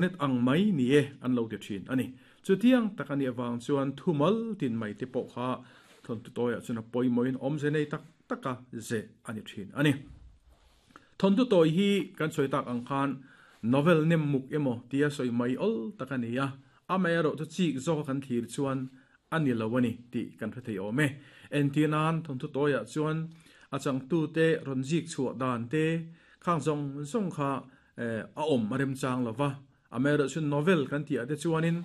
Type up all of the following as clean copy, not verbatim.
Net ang mai ni e an lo ti thin a ni. Chutiang tak a nih avang chuan thumal tin mai te pawh kha thawnthu tawiah chuan a pawimawhin awmze nei tak taka zeh a ni thin a ni. Thawnthu tawi hi kan sawi tak ang khan novel nem muk emaw tia sawi mai awl tak a ni a, amaherawh chu chik zawka kan thlir chuan a ni lo a ni tih kan hre thei awm e. Entir nan thawnthu tawiah chuan a changtute rawn zik chhuah dan te khang zawng zawng kha a awm a remchang lo va. Amaherawh chu novel kan tih ah te chuanin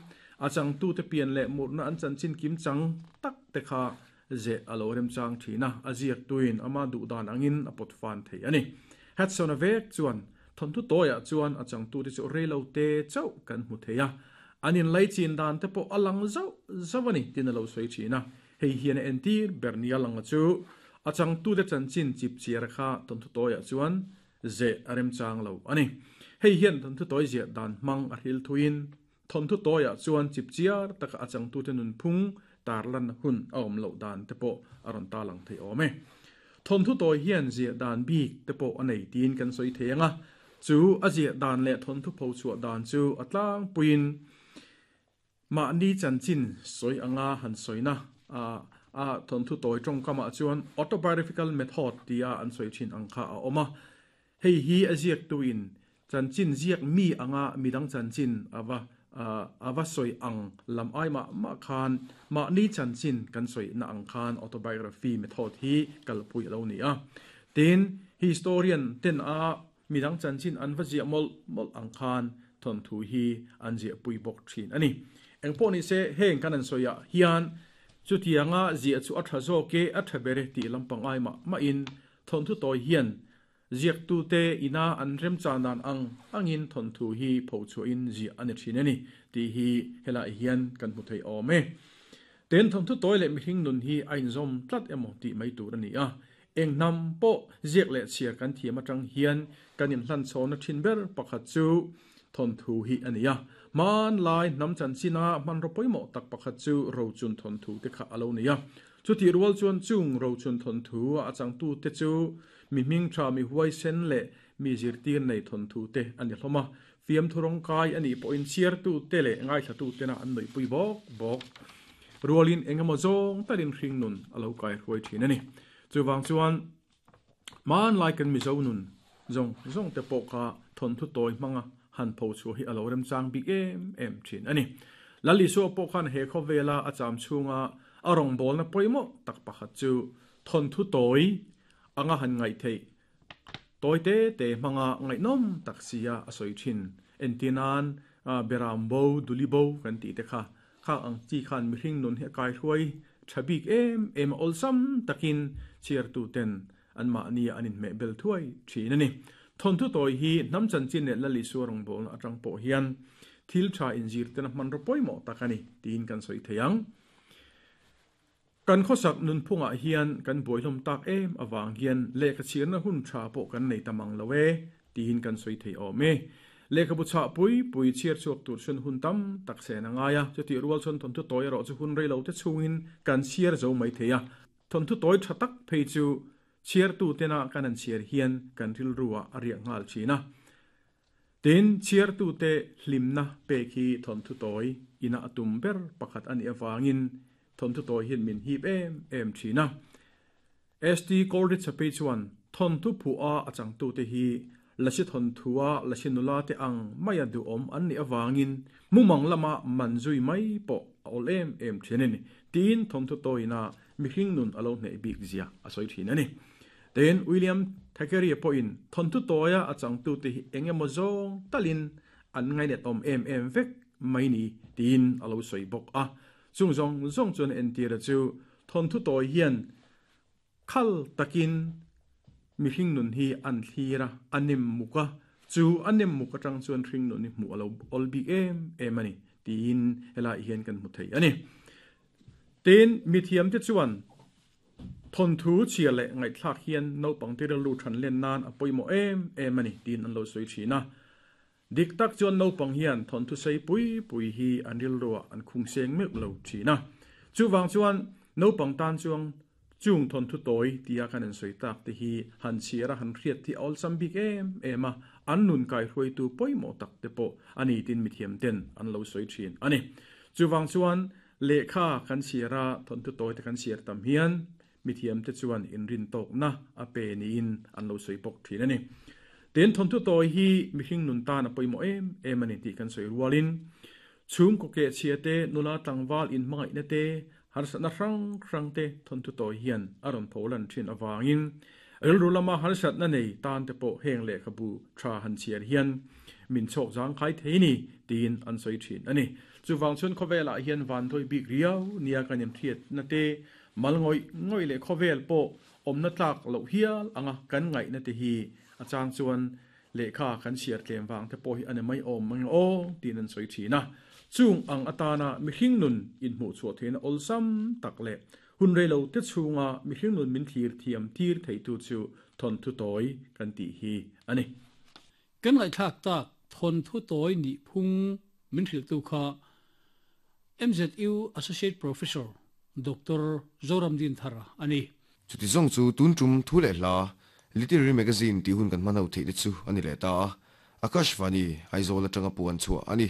a changtute pian leh murna an chanchin kim chang tak te kha zeh a lo remchang thin a, a ziaktuin ama duh dan angin a pawt fan thei a ni. Hudson-a vek chuan thawnthu tawiah chuan a changtute chu reilo te chauh kan hmu thei a, an inlaichin dan te pawh a lang zauh zauh a ni tiin a lo sawi thin a. Hei hian a entir ber nia langa chu a changtute chanchin chipchiar kha thawnthu tawiah chuan zeh a remchang lo a ni. Hei hian thawnthu tawi ziah dan hmang a hril thuiin thawnthu tawiah chuan chipchiar taka a changtute nunphung tarlan hun a awm loh dan te pawh a rawn tarlang thei awm e. Thawnthu tawi hian ziah dan bik te pawh a nei tiin kan sawi thei ang a, chu a ziah dan leh thawnthu pho chhuah dan chu a tlangpuiin Mahni chanchin sawi anga han sawina a a thawnthu tawi tawngkamah chuan autobiographical method tia an sawi thin ang kha a awm a. Hei hi a ziaktuin chanchin ziak mi anga midang chanchin a va a va sawi ang lam ai mah mah khan mahni chanchin kan sawina ang khan autobiography method hi kalpui a lo ni a. Tin, historian ten a Midang chanchin an va ziah mawlh mawlh ang khan thawnthu hi an ziahpui bawk thin a ni. Engpawh ni se, heng kan an sawiah hian chutianga ziah chu a tha zawk e, a tha ber e tih lampang ai mah mahin thawnthu tawi hian ziaktute ina an remchan dan ang angin thawnthu hi phochhuahin ziah a ni thin a ni tih hi helaiah hian kan hmu thei awm e. Ten thawnthu tawi leh mihring nun hi a inzawm tlat emaw tih mai tur a ni a, Eng hnam pawh ziak leh chhiar kan thiam atang hian kan inhlanchhawnna thin ber pakhat chu thawnthu hi a ni a. Hmanlai hnam chanchina hmanraw pawimawh tak pakhat chu rochun thawnthu te kha a lo ni a. Chutih rual chuan chung rochun thawnthu a changtute chu mi hmingtha, mi huaisen leh mi zirtir nei thawnthu te a ni hlawm a. Fiamthu rawngkai a nih pawhin chhiartute leh ngaithlatutena an nuihpui bawk bawk rualin eng emaw zawng takin hringnun a lo kaihruai thin a ni. Chuvang chuan hmanlai kan Mizo nun zawng zawng te pawh kha thawnthu tawi hmanga han pho chhuah hi a lo remchang bik em em thin a ni. Lal Isua pawh khan he khawvela a cham chhunga a rawngbawlna pawimawh tak pakhat chu thawnthu tawi anga han ngaih theih Tawi te te hmanga ngaihnawm tak sia a sawi thin. Entir nan Beram bo, Duli bo kan tih te kha khak ang chi khan mihring nun hi a kaihruai tha bik em em a awlsam takin chhiartu ten anmahni an inhmeh bel thuai thin a ni. Thawnthu tawi hi hnam chanchin leh Lal Isua rawngbawlna atang pawh hian thil tha inzirtena hmanraw pawimawh tak a ni tiin kan sawi thei ang. Kan khawsak nunphungah hian kan buaihlawm tak em avang hian lehkha chhiarna hun tha pawh kan nei ta mang lo e tiin kan sawi thei awm e. Lehkhabu chhah pui pui chhiar chhuak tur chhun hun tam tak sen a ngai a, chutih rual chuan thawnthu tawi erawh chu hun rei lo te chhungin kan chhiar zo mai thei a. Thawnthu tawi tha tak phei chu chhiartu tena kan han chhiar hian kan rilruah a riak nghal thin a. Tin, chhiartute hlimna pek hi thawnthu tawi ina a tum ber pakhat a nih avangin thawnthu tawi hian min hip em em thin a. ST Coleridge-a phei chuan thawnthu phuah a changtute hi lasi thawnthua lasi nula te ang maia duhawm an nih avangin mumang lama man zui mai pawh a awl em em thin a ni, tiin thawnthu tawiina mihring nun a lo hneh bik zia a sawi thin a ni. Tin, William Thackeray pawhin thawnthu tawia a changtute hi eng emaw zawng talin an ngainatawm em em vek mai ni tiin a lo sawi bawk a. Chung zawng zawng chuan entira chu thawnthu tawi hian khal takin mihring nun hi an thlir a, a nem muk a, chu a nem muk atang chuan hring nun hi hmuh a lo awl bik em em a ni tiin helaiah hian kan hmu thei a ni. Tin, mithiamte chuan Thawnthu chhia leh ngaihthlak hian naupangte rilru than len nan a pawimawh em em a ni tiin an lo sawi thin a. Dik tak chuan naupang hian thawnthu sei pui pui hi an rilruah an khung seng meuh lo thin a. Chuvang chuan naupang tan chuang Chung thawnthu tawi tia kan insawi tak te hi han chhiar a han hriat hi a awlsam bik em em a, an nun kaihruaitu pawimawh tak te pawh a ni tin mithiam ten an lo sawi thin a ni. Chuvang chuan lehkha kan chhiar a thawnthu tawi te kan chhiar tam hian mithiam te chuan inrintawkna a pe niin an lo sawi bawk thin a ni. Tin, thawnthu tawi hi mihring nun tan a pawimawh em em a ni tih kan sawi rualin chhungkaw kehchhia te, nula tlangval inhmangaihna te, Harsatna hrang hrang te thawnthu tawi hian a rawn pho lan thin avangin rilru lama harsatna nei tan te pawh heng lehkhabu tha han chhiar hian min chhawk zangkhai thei ni tiin an sawi thin a ni. Chuvang chuan khawvelah hian vanduai bik riau nia kan inhriatna te, mal ngawih ngawih leh khawvel pawh awmna tlak loh hial anga kan ngaihna te hi a chang chuan Lehkha kan chhiar tlem vang te pawh hi a ni mai awm mang aw tiin an sawi thin a. Chung ang atana mihring nun inhmuh chhuah theihna awlsam tak leh hun reilo te chhunga mihring nun min thlir thiam tir theitu chu thawnthu tawi kan tih hi a ni. Kan ngaihthlak tak thawnthu tawi nih phung min hrilhtu kha MZU Associate Professor Doctor Zoramdin Thara a ni. Chuti zawng chu tun tum thu leh hla Literary Magazine tih hun kan hman ho theih te chu a ni leh ta a, Akashvani, Aizawl atanga puan chhuah a ni.